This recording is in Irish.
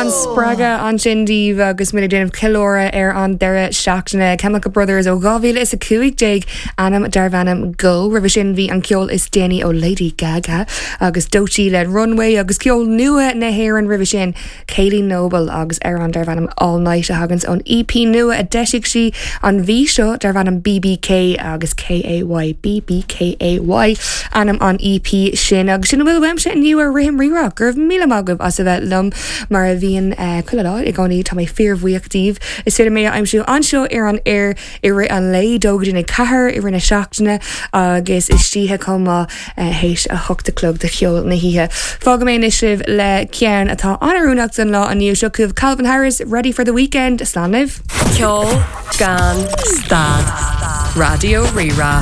An-spreagadh ansin daoibh agus muid ag déanamh ceiliúradh ar an deireadh seachtaine. Chemical Brothers ó 2015, ainm darbh ainm Go. Roimhe sin bhí an ceol is déanaí ó Lady Gaga agus Doechii le Runway agus ceol nua na hÉireann roimhe sin, Kayleigh Noble agus amhrán darbh ainm All Night a thaganns ón EP nua a d'eisigh sí an mhí seo darbh ainm BBK agus KAY, BBKAY, ainm an EP sin. Agus sin a bhfuil uaimse inniu ar Rithim Rírá. Go raibh míle maith agaibh as a bheith liom mar a bhíonn chuile lá i gcónaí. Tá mé fíorbhuíoch díbh. Is féidir mé a aimsiú anseo ar an aer i rith an lae, 2 go dtí 4 i rith na seachtaine agus istoíche chomh maith théis 8 a chlog do cheol na hoíche. Fágfaidh mé anois sibh le ceann atá an-oiriúnach don lá inniu. Seo chugaibh Calvin Harris, Ready for the Weekend. Slán libh! Ceol gan stad. Raidió Rí-Rá.